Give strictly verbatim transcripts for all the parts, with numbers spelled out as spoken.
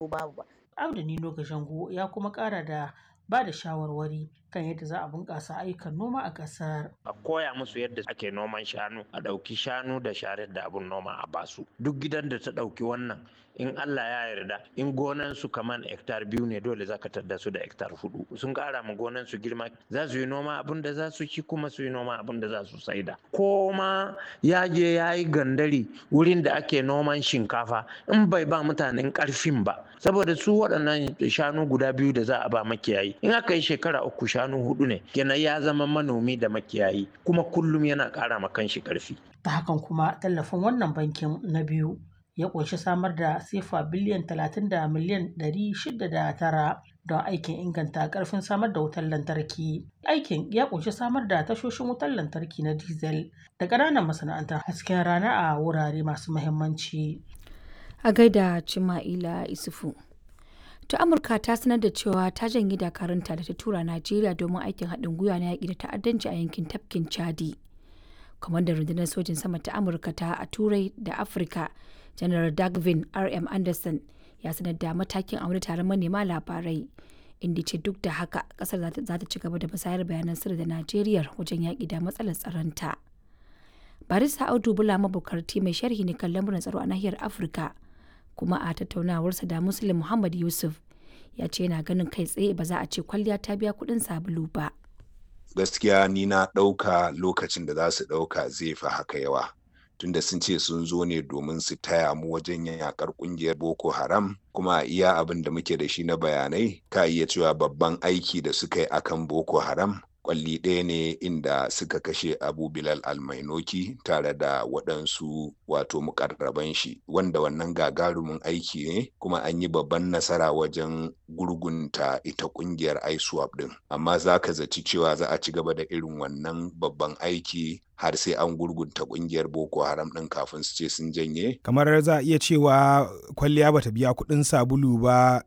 Babu ba. Abdu Nino Gashango ya kuma ƙara da ba da shawarwari kan yadda za a bunƙasa ayyukan noma a ƙasar. A koya musu yadda ake noman shanu, a ɗauki shanu da sharar da abun noma a basu. Duk gidan da ta ɗauki wannan, in Allah ya yarda, in gonan su kaman hektar biyu ne, dole za ka tadda su da hektar hudu. Sun ƙara ma gonan su girma, za su yi noma abun da za su ci, kuma su yi noma abun da za su saida. Ko ma ya je ya yi gandari wurin da ake noman shinkafa, in bai ba mutanen ƙarfin ba. Saboda su waɗannan shanu guda biyu da za a ba makiyayi, in aka yi shekara uku, shanu hudu ne kenan, ya zama manomi da makiyayi, kuma kullum yana ƙara ma kanshi ƙarfi. Ta hakan kuma tallafin wannan bankin na biyu ya ƙunshi samar da sefa biliyan talatin da miliyan ɗari shida da tara don aikin inganta ƙarfin samar da wutar lantarki. Aikin ya ƙunshi samar da tashoshin wutar lantarki na diesel da ƙananan masana'antar hasken rana a wurare masu muhimmanci. A gaida Cima'ila Isufu. Ta Amurka ta sanar da cewa ta janye dakarunta da ta tura Najeriya domin aikin haɗin gwiwa na yaƙi da ta'addanci a yankin tafkin Chadi. Kwamandan rundunar sojin sama ta Amurka ta a Turai da Afirka, Janar Dagvin R M. Anderson, ya sanar da matakin a wani taron manema labarai, inda ce duk da haka kasar za ta ci gaba da musayar bayanan sirri da Najeriya wajen yaƙi da matsalar tsaronta. Barista Audu Bula Mabukarti mai sharhi ne kan lamuran tsaro a nahiyar Afirka, kuma a tattaunawarsa da Muslim Muhammad Yusuf ya ce yana ganin kai tsaye ba za a ce kwalliya ta biya kuɗin sabulu ba. Gaskiya ni na ɗauka lokacin da za su ɗauka zai fi haka yawa. Tunda sun ce sun zo ne domin su taya mu wajen yakar kungiyar Boko Haram, kuma iya abin da muke da shi na bayanai, ka iya cewa babban aiki da suka yi akan Boko Haram kwalli ɗaya ne, inda suka kashe Abu Bilal Almainoki tare da waɗansu wato mukarraban shi, wanda wannan gagarumin aiki ne, kuma an yi babban nasara wajen gurgunta ita ƙungiyar ISWAP ɗin. Amma za ka zaci cewa za a ci gaba da irin wannan babban aiki har sai an gurgunta ƙungiyar Boko Haram ɗin kafin su ce sun janye? Kamar za a iya cewa kwalliya bata biya kuɗin sabulu ba,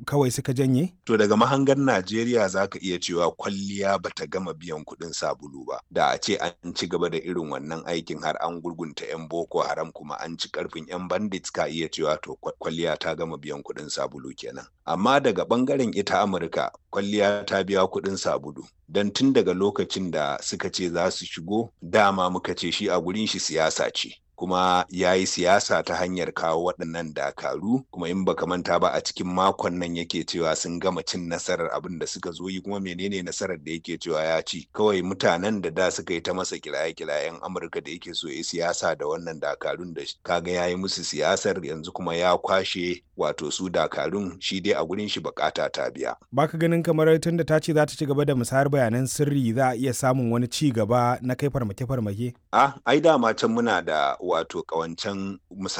kawai suka janye? To, daga mahangar Najeriya za ka iya cewa kwalliya bata gama biyan kuɗin sabulu ba. Da a ce an ci gaba da irin wannan aikin har an gurgunta 'yan Boko Haram kuma an ci karfin 'yan bandits, ka iya cewa to kwalliya ta gama biyan kuɗin sabulu kenan. Amma daga ɓangaren ita Amurka, kwalliya ta biya kuɗin sabulu. Don tun daga lokacin da suka ce za su shigo, dama muka ce shi a gurin shi siyasa ce. Kuma ya yi siyasa ta hanyar kawo waɗannan dakaru. Kuma in baka manta ba, a cikin makon nan yake cewa sun gama cin nasarar abin da suka zo yi. Kuma menene nasarar da yake cewa ya ci? Kawai mutanen da da suka yi ta masa kiraye-kirayen Amurka da yake so ya siyasa da wannan dakarun, da kaga ya yi musu siyasar, yanzu kuma ya kwashe wato su dakarun. Shi dai a gurin shi bukata ta biya. Baka ganin kamar tun da ta ce za ta ci gaba da musayar bayanan sirri, za a iya samun wani ci gaba na kai farmake-farmake? Ah, ai dama can muna da wato kawancan